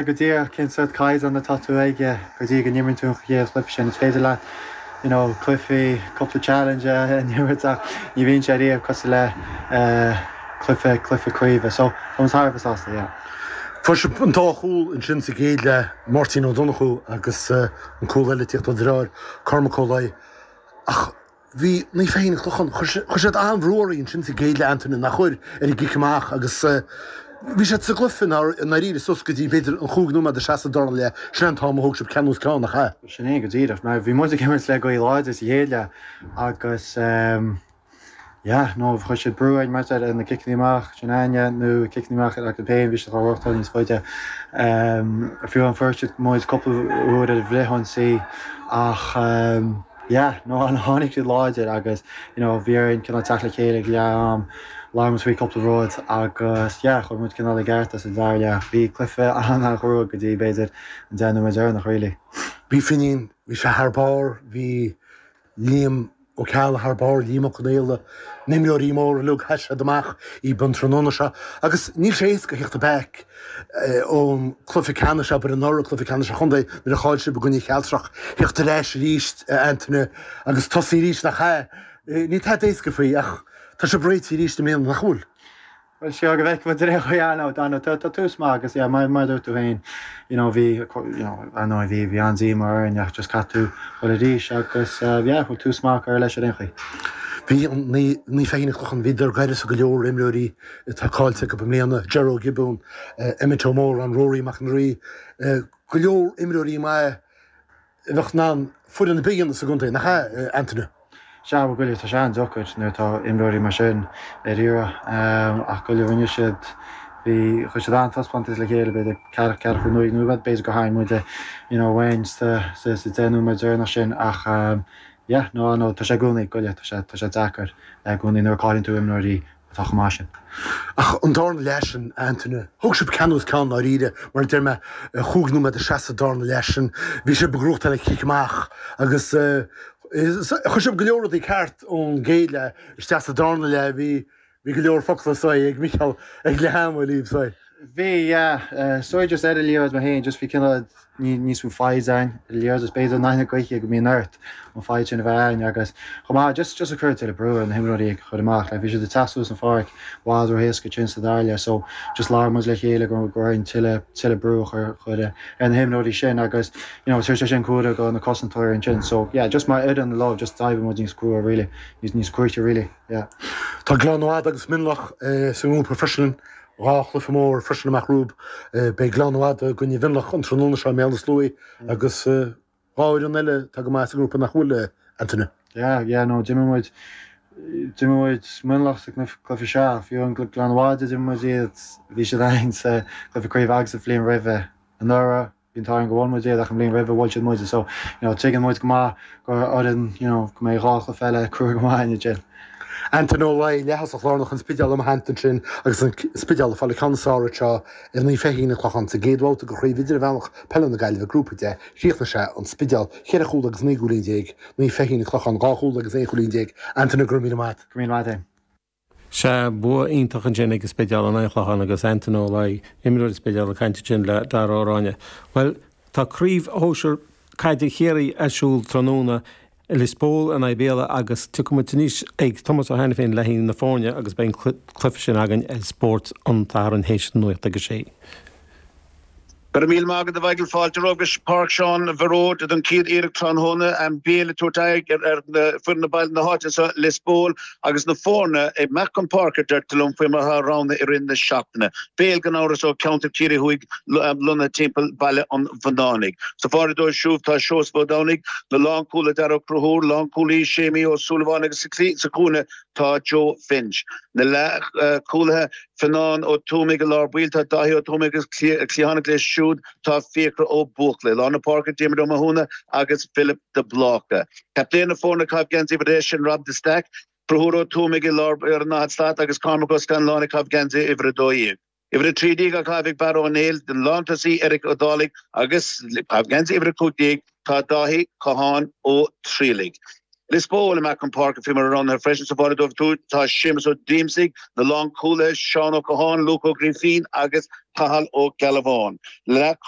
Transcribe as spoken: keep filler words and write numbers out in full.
Go díreach cén sórt caighdeán atá tú aige go dtí go n-imríonn tú an chéad chluiche sin. Is féidir leat you know, cluichí cúpla challenge a imirt ach ní bhíonn sé riamh cosúil le cluiche cluiche craoibhe. So tá thar a bheith sásta, yeah. Fuair sibh an dá chúl ansin sa gcéad leath Máirtín Ó Donnchú agus an cúl eile ag tíocht ó dheartháir Cormac Ó Laoi. Ach bhí Naomh Feichín an Clochán, chuir siad an-bhrú oraibh ansin sa gcéad leath Antaine nach chuir ar an gcic amach agus bhí siad sa gcluiche i ndáiríre suas go dtí b'fhéidir an chúig nóiméad a seasamh dara leath, sin an t-am a thóg sibh ceann os ceann nach ea? Sin é go díreach. Mar bhí muid ag imirt le gaoth láidir sa chéad leath agus yeah, no, chuir siad brú orainn mar ar na ciceanna amach sin aine nó ciceanna amach ar acu féin bhí siad á rochtáil níos faide. Um, fiú an fuair siad muid cúpla uair ar bhfrithionsaí ach um, yeah, no, an tháinig siad láidir agus you know, bhí orainn cineál teacht le chéile ag leath am labhair muid faoi cúpla rud agus yeah, chuir muid cineál i gceart as an dara leath. Bhí cluiche an-chrua go dtí b'fhéidir an deich nóiméad deireanach really. Bhí Finín, bhí sé thar barr, bhí Liam Ó Ceallaigh thar barr, Liam Ó Conaola, na himreoirí móra uilig sheas siad amach i an tráthnóna seo agus níl sé éasca theacht back ón cluiche ceannais abair anuraidh cluiche ceannais an chontae nuair a chaill sibh i gcoinne Chealtrach theacht ar ais arís Antaine agus tosaí arís nach ea. Ní tá éasca faoi ach tá sé réitithe arís i mbliana nach bhfuil. Well seo go bhfeicfidh muid ar aon chaoi tá tá tús maith agus yeah, mar mar dúirt tú féin you know, bhí you know, ar ndóigh bhí bhí an-díomá orainn ach just caithfidh tú dul arís agus uh, yeah, bhfuil tús maith ar leis ar aon chaoi. Bhí Naomh Feichín an Clochán bhíodar gaireasa go leor imreoirí atá cáillte go mbliana Jerry Gibbon, Emmet Ó Mór an Rory Mac an Rí, go leor imreoirí maith a bheadh in ann foireann ar bith a dhéanamh sa gcontae nach ea Antaine. Sea go tá sé an-deacair nuair atá imreoirí mar sin ar iarraidh ach go rinne siad bhí chuir siad an-taispeántas le chéile b'fhéidir ceathracha cúig nóiméad b'fhéidir go tharraing muid you know uainn sa sa deich nóiméad deireanach sin ach yeah, no no tá sé i gcónaí go tá sé tá sé deacair i gcónaí nuair a chailleann tú imreoirí atá chomh maith sin. Ach an darna leath sin Antaine, thug sibh ceann os ceann dáiríre mar deir mé chúig nóiméad a seasamh darna leath sin, bhí sibh ag gnóthachtáil an cic amach agus chuir sibh go leor rudaí ceart ón gcéad leath isteach sa darna leath bhí bhí go leor focla soi ag Micheál ag leath ama libh soi. Bhí yeah, so just ar an liathróid mé féin just bhí cineál níos mó foighid againn ar an liathróid is b'fhéidir na gaoithe go mbíonn ort an foighid sin a bheith againn agus chomh maith just just a chur tuilleadh brú ar na himreoirí ag chur amach like bhí siad ag teacht suas an pháirc i bhfad ró-éasca sin sa dara leath so just labhair muid le chéile go go raibh tuilleadh tuilleadh brú a chur chur ar na himreoirí sin agus you know tar sin cuara go na cosantóirí ansin so yeah just mar fhoireann love just d'éirigh muid níos crua really níos níos cruaite really yeah. Tá Gleann Fhada agus Mionlach sa ngrúpa freisin dhá chluiche mór freisin amach romhaibh beidh Gleann Fhada i gcoinne Mhionlach an tráthnóna seo i mBéal Átha Sluaighe agus dhá fhoireann eile tá go maith sa ngrúpa nach bhfuil Antaine. Yeah, yeah, no, d'imir muid d'imir muid Mionlach sa cluiche seo fiú an Gleann Fhada d'imir muid iad bhí siad againn sa cluiche craoibhe agus sa bhliain roimhe anuraidh bhí an t-ádh go bhfuair muid iad ach an bhliain roimhe bhuail siad muid so you know, tuigeann muid go maith gur fhoireann you know, go mbeidh dhá chluiche eile crua go maith in sin. Antaine Ó Laoi leath-thosach lárnach an Spidéil i mo theannta ansin agus an Spidéal ag fáil an ceann is fearr anseo ar Naomh Feichín an Clochán sa gcéad bhabhta de chraobh idirmheánach peile na Gaillimhe grúpa deich chríochnaigh sé an Spidéal ceithre chúl agus naoi gcúilín déag Naomh Feichín an Clochán dhá chúl agus aon chúilín déag Antaine go raibh míle maith. Go míle maith. Se bua iontach ansin ag Spidéal in aghaidh an Chlocháin agus Antaine Ó Laoi imreoir Spidéal ag caint sin le Dara Ó Ráinne. Well tá craobh shinsir caide Chiarraí ar siúl tráthnóna Lios Póil in aghaidh Béal agus tiocfaidh muid anois ag Tomás Ó Hainiféin le na foirne agus beidh an cluiche sin againn ar Spórt an tSathairn théis nuacht agus sé. Gur míle maith agat a Mhichael fáilte agus Páirc Seán Bharóid don chéad iarracht tráthnóna an Béal tuairteig ar foireann na baile na háite seo Lios Póil agus na foirne ag imeacht chun páirce deirtear liom faoi mar ranna i rith na seachtaine. Béal gan amhras ó cheantar Ciarraí Thuaidh lonnaithe timpeall Baile an Bhunánaigh. Sa pháire dóibh siúd tá Seosamh Ó Domhnaigh na lánchúlaí Dara Cruthúr, lánchúlaí Séimí Ó Súilleabháin agus sa chúinne tá Joe Finch. Na leathchúlaithe Fionnán Ó Tuamaigh i lár baill tá Dáithí Ó Tuamaigh agus cliathánach leis siúd tá Fiachra Ó Buachla. Lár na páirce Diarmuid Ó Mathúna agus Philip de Bláca. Captaen na foirne ag caitheamh geansaí uimhir sin Rob de Stack, Conchúr Ó Tuamaigh i lár ar an daichead slat agus Cormac Ó Scanláin ag caitheamh geansaí uimhir a dó dhéag. Uimhir a trí déag á caitheamh ag Barra Ó Néill den lántosaí Eric Ó Dálaigh agus caitheamh geansaí uimhir a cúig déag tá Dáithí Catháin Ó Trialaigh. Lios Póil amach an páirc faoi mar a roghnaithe freisin sa bhaile dóibh tá Séamus Ó Díomsaigh, na lánchúlaithe Seán Ó Catháin, Luke Ó Grífín agus Cathal Ó Gealbháin. Leathchúl